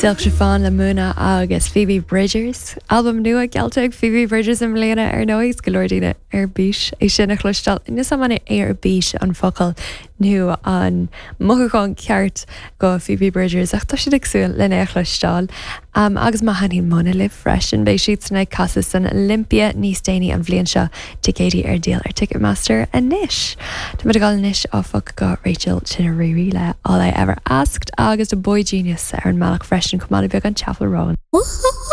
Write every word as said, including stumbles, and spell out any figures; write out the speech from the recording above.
Silk Chiffon le Muna agus Phoebe Bridgers. Albam nua geallta ag Phoebe Bridgers i mbliana ar ndóigh go leor daoine ar bís é sin a chloisteáil níos man ar bís an focal nó an mothúchán ceart go Phoebe Bridgers ach tá siad ag súil lena chloisteáil. Um, agus má thaitníonn Muna libh freisin beidh siad san ag casadh san Olympia níos déanaí an bhliain seo ticéidí ar díol ar Ticketmaster anois. Tá muid ag dul anois áfach go Rachel Chinouriri le All I Ever Asked agus a boygenius ar an mbealach freisin chomh maith le beagán Chappell Roan.